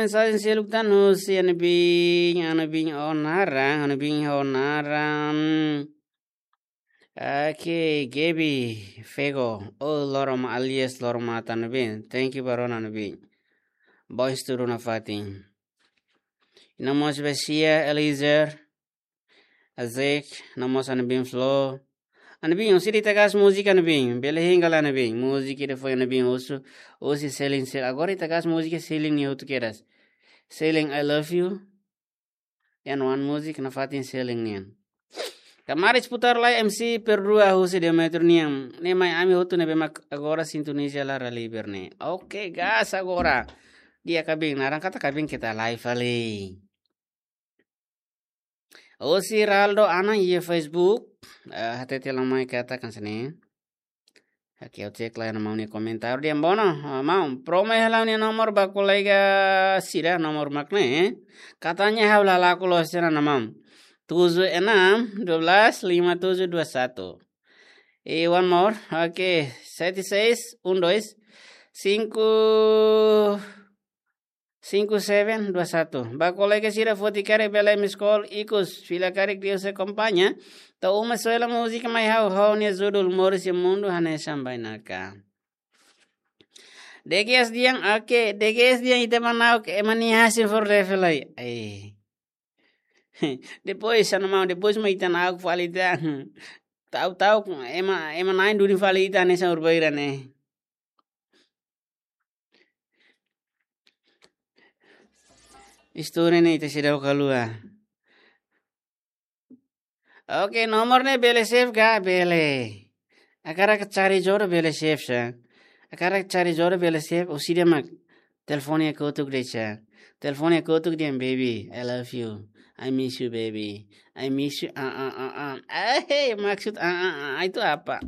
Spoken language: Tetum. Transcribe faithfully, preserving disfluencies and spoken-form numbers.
mensajen seluk tan husi Anabin, Anabin Onaran, Anabin Onaran. Oke, Gaby Fego. Oh, Loroma alias Loroma Anabin. Thank you, Barona Anabin. Boys turun nafatin. Ina mós ba sia, Eliezer. Azek, ina mós Anabin Flow. Anabin, husi ita gas múzika Anabin. Bele hingala Anabin. Múzika ida foin Anabin husu. Husi selling sell. Agora ita gas múzika selling nia hotu kedas. Selling I love you. Yang one múzika nafatin selling nian. Kamaris putar lai M C perdua husi Demetrio nian. Ne'e mai ami hotu ne'ebé mak agora sintonizar Lara Liber ne'e. Oke, gas agora. Dia kabing, naran katak kabing ita live fali. Husi Raldo Ana iha Facebook. Eh, hatete la mai katak hanesan ne'e. Oke, ha'u cek lai maun nia komentáriu dehan, Barona, ah, maun, promé hela nia nomor ba kolega sira, nomor mak ne'e. Katanya ha'u la laku loos tiha ona maun. Tujuh enam dua belas lima tujuh dua satu. E one more, oke, sete seis um dois cinco cinco seven dua satu. Ba kolega sira foti karik bele miss call ikus, fila karik Deus akompaña. To'o uma soela múzika mai ha'u, ha'u-nia judul Moris iha Mundu hanesan bainaka. D G S Dian, oke, D G S Dian ita manau ke ema nia hasil for level ai. Ai. Depois, sana mau, depois mai ita nau fali ita. Ta'uk-ta'uk, ema, ema na'in duni fali ita hanesan urbaira ne'e. Istória ne'e ita seidauk haluha. Oke, nomor ne'e bele save ka, bele. Hakarak cari jodoh bele save sa. Hakarak cari jodoh bele save, husi ida mak telefone kotuk de'it sa. Telefone kotuk dehan, "Baby, I love you. I miss you, baby. I miss you." Ah, ah, ah, ah. Ah, hei, maksud ah, ah, ah, ah itu apa?